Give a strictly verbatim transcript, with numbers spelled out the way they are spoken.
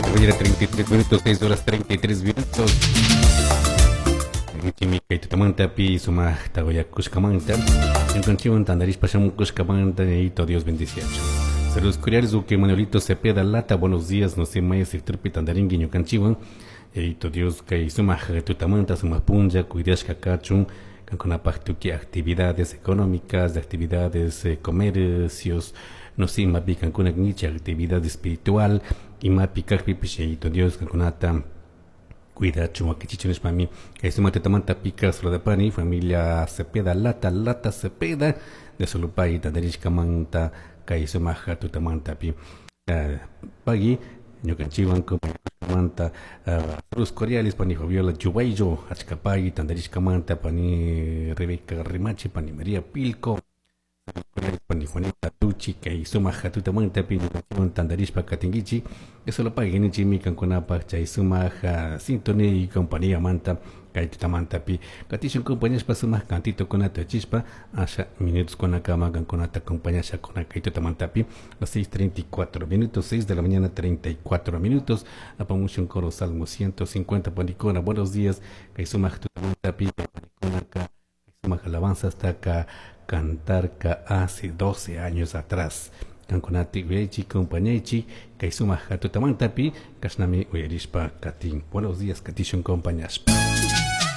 De la mañana, treinta y tres minutos, seis horas treinta y tres minutos. Kay tutamantapi sumaqta uyakushkamanta ñukanchikwan tantarishpa shamukushkamanta Yayato Dios bendiciachu. Saludos cordiales, Uque Manuelito Cepeda Lata, buenos días, no sé, maya sectorpi tantarinki ñukanchikwan. Yayato Dios kay sumaq tutamanta sumaq punlla cuidashka kachun kankunapaq tukuy actividades económicas, actividades, eh, comercios, no sé, imapi kankuna kankichik actividad espiritual, imapi kaqpipish Yayato Dios kankunata cuidachun wakichichun nishpami kay sumaq tutamanta pika saludapani familia Cepeda Lata, Lata Cepeda de Solupay tantarishkamanta kay sumaq tutamantapi. Uh, pagui ñukanchikwan compañeros saludos cordiales pani Fabiola Chubayo achkapagui tantarishkamanta pani Rebeca Rimachi pani María Pilco saludos cordiales pani Juanita Tuchi kay sumaq tutamantapi ñukanchikwan tantarishpa katinkichik eso lo pagui nichimi kankunapaq chay sumaq sintonía y compañía manta kay tutamantapi katishun compañashpa sumaq cantitokunata achispa asha minutos kunakama kankunata acompañasha kuna kay tutamantapi las seis treinta y cuatro minutos, seis de la mañana treinta y cuatro minutos apamushun coro Salmo ciento cincuenta panicona buenos días kay sumaq tutamantapi panicona ka sumaq alabanza hasta acá cantar ka hace doce años atrás kankunati uyaychi compañaychi kay sumaq tutamantapi kashnami uyarishpa katin. Buenos días katishun compañashpa.